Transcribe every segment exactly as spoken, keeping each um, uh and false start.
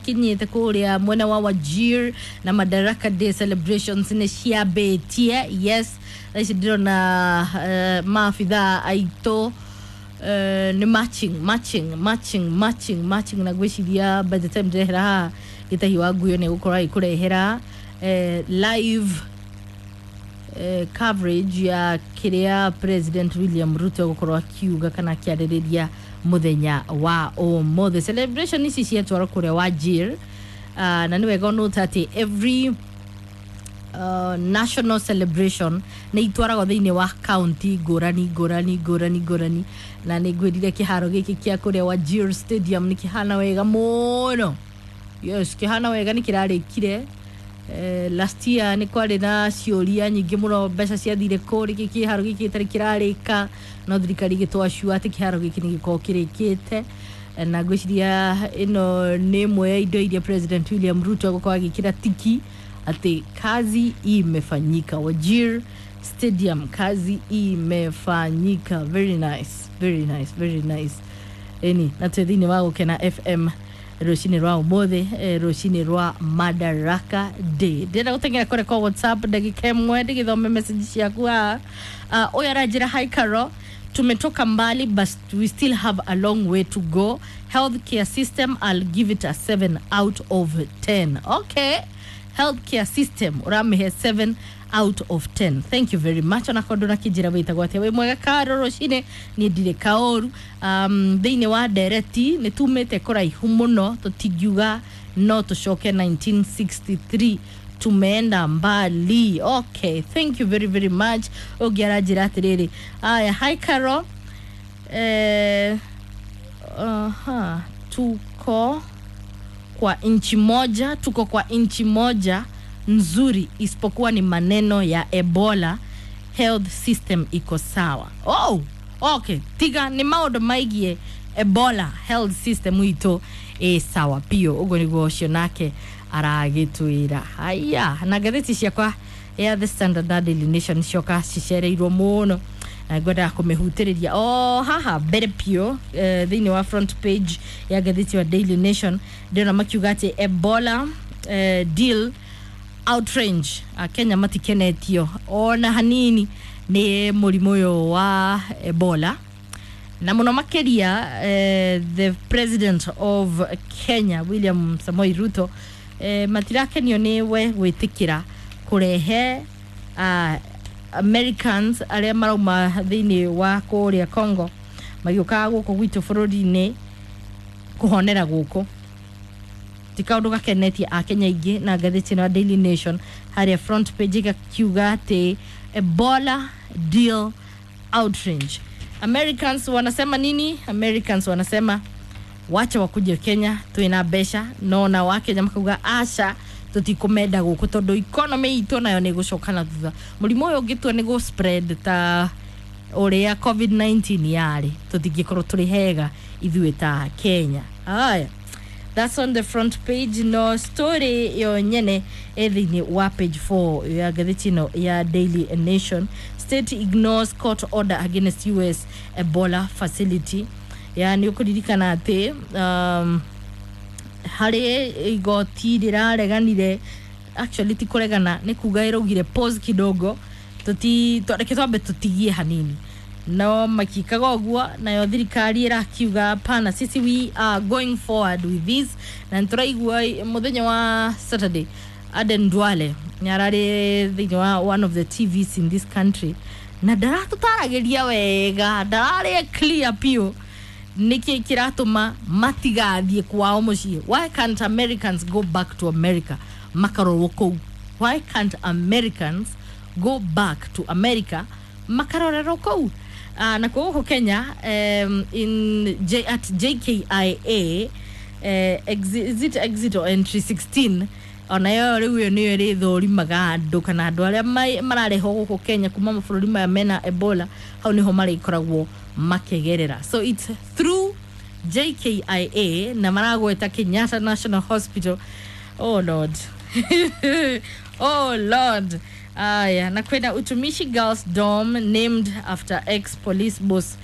cikinyĩte kũrĩa mwena wa Wajir na Madaraka Day celebrations nĩ ciambĩtie. Yes, thaa ici ndĩrona uh, maabithaa aitũ uh, nĩ marching marching marching marching marching, na ngwĩciria by the time ndĩrehera haha Gĩtahi wa Nguyo nĩ gũkorwo agĩkũrehera eh, live eh, coverage ya kĩrĩa President William Ruto egũkorwo akiuga kana akĩarĩrĩria mũthenya wa ũmũthĩ. Celebration ici ciatwarwo kũrĩa Wajir, uh, na nĩ wega ũnũte atĩ every uh, national celebration nĩ itwaragwo thĩinĩ wa county ngũrani ngũrani ngũrani ngũrani, na nĩ ngwĩrire kĩharo gĩkĩ kĩa kũrĩa Wajir Stadium nĩ kĩhana wega mũno. Yes, kĩhana wega, nĩ kĩrarĩkire eh, last year. Nĩ kwarĩ na ciũria nyingĩ mũno, mbeca ciathire kũ, rĩkĩ kĩharo gĩkĩ gĩtarĩ kĩrarĩka, no thirikari ĩgĩtwacua atĩ kĩharo gĩkĩ nĩ gĩkorwo kĩrĩkĩte. Na ngwĩciria ĩno nĩ ĩmwe ya indo iria President William Ruto egũkorwo agĩkĩra tiki atĩ kazi imefanyika. Wajir Stadium, kazi imefanyika. Very nice, very nice, very nice. Ĩni na twĩ thĩinĩ wa Gũkena F M rũcinĩ rwa ũmũthĩ, eh, rũcinĩ rwa Madaraka Day. Ndĩrenda gũteng'era kũrĩa kwa WhatsApp ndagĩka ĩmwe ndĩgĩthome message ciaku haha. uh, ũyũ aranjĩra, "Hi Caro, tumetoka mbali but we still have a long way to go. Healthcare system, I'll give it a seven out of ten." Okay, healthcare system ũramĩhe seven out of ten. Thank you very much. Onakorwo ndũnakĩnjĩra wĩtagwo atĩa. "Wĩ mwega Karo rũcinĩ, niĩ ndirĩ kaũru. um, thĩinĩ wa ndereti nĩ tumĩte kũraihu mũno, tũtingiuga no tũcoke nineteen sixty-three, tumeenda mbali." Okay, thank you very very much. Ũngĩ aranjĩra atĩrĩrĩ, aya, "Hi Caro, eh, aha, tuko kwa nchi moja, tuko kwa nchi moja nzuri, isipokuwa ni maneno ya Ebola, health system iko sawa." Oh, okay, tiga nĩ maũndũ maigie Ebola, health system itũ ĩ sawa biũ. Ũguo nĩguo ũcio nake aragĩtwĩra. Haya, na ngathĩti ciakwa ya The Standard na Daily Nation cioka cicereirwo mũno na ngwendaga kũmĩhutĩrĩria o haha mbere biũ. eh, thĩinĩ wa front page ya ngathĩti ya Daily Nation ndĩrona makiuga atĩ Ebola eh, deal outrage. Akenya matikenetio ona hanini nĩ mũrimũ ũyũ wa Ebola, na mũno makĩria eh, the President of Kenya William Samoei Ruto. eh, matirakenio nĩ we gwĩtĩkĩra kũrehe uh, Americans arĩa marauma thĩinĩ wa kũrĩa Congo magĩũkaga gũkũ gwitũ bũrũri-inĩ kũhonera gũkũ. Ti kaũndũ gakenetie Akenya aingĩ, na ngathĩti ĩno ya Daily Nation harĩa front page ĩgakiuga atĩ Ebola deal outrage. Americans wanasema nini? Americans wanasema wacha wakuje Kenya, twina mbeca, no na Wakenya makauga aca, tũtikũmenda gũkũ tondũ economy itũ nayo nĩ ĩgũcoka na thutha. Mũrimũ ũyũ ũngĩtua nĩ gũ spread ta ũrĩa COVID nineteen yarĩ, tũtingĩkorwo tũrĩ hega ithuĩ ta Kenya. Haya, that's on the front page, no story yo nyene ĩ thĩinĩ wa page four ya ngathĩti ĩno ya Daily Nation. State ignores court order against U S Ebola facility. Ya nĩ ũkũririkana atĩ um, harĩ igoti rĩrareganire, actually ti kũregana, nĩ kuga ĩraugire pause kidogo, tuti to- reke twambe tũtigie hanini, no makikaga ũguo nayo thirikari ĩrakiuga pana, sisi we are going forward with this. Na nĩtũraigua mũthenya wa Saturday Aden Duale nĩ ararĩ thĩinĩ wa one of the T Vs in this country na ndaratũtaragĩria wega, ndararĩ clear piũ nĩkĩ kĩratũma matigathiĩ kwao mũciĩ. Why can't Americans go back to America makarorwo kũu? Why can't Americans go back to America makarorerwo kũu? uh, na gũkũ Kenya, um, in J, at J K I A, eh, exit, is it exit or entry sixteen, onayo rĩu ĩyo nĩyo ĩrĩthũrimaga andũ kana andũ arĩa mai- mararehwo gũkũ Kenya kuma mabũrũri maya mena Ebola, hau nĩho marĩkoragwo makĩgerera. So it's through J K I A na maragweta Kenyatta National Hospital. Oh Lord. Oh Lord. Aya, na kwenda Utumishi Girls Dorm named after ex police boss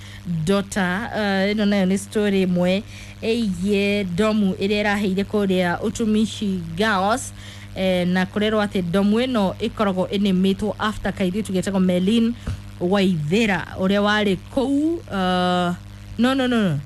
daughter. uh, ĩno nayo nĩ story ĩmwe ĩgiĩ domu ĩrĩa ĩraheire kũrĩa Utumishi Girls, eh, na kũrerwo atĩ domu ĩno ĩkoragwo ĩnĩmĩtwo after kairĩtu getagwo Melin Waithera ũrĩa warĩ kũu, uh, no no no no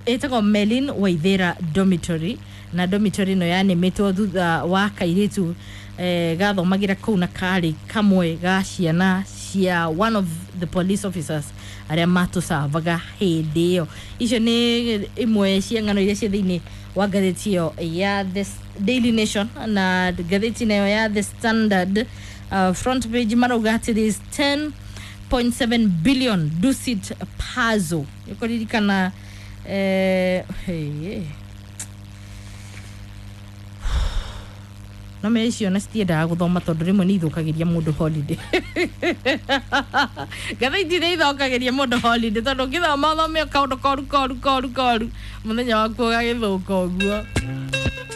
ĩtagwo Melin Waithera Dormitory, na dormitory ĩno yanĩmĩtwo thutha wa kairĩtu eh, gathomagĩra kũu na karĩ kamwe ga ciana cia one of the police officers arĩa matũcavaga hĩndĩ ĩyo. Icio nĩ imwe cia ng'ano iria ciĩ thĩinĩ wa ngathĩti ĩyo ya The Daily Nation. Na ngathĩti nayo ya The Standard, uh, front page marauga atĩ there is ten point seven billion Dusit Puzzle. Ũkũririkana, eh, hey, no me icio na citiendaga gũthoma tondũ rĩmwe nĩ ithũkagĩria mũndũ holiday. Ngathĩti nĩ ithũkagĩria mũndũ holiday tondũ ũngĩthoma ũthome kaũndũ koru koru koru koru, mũthenya waku ũgagĩthũka ũguo.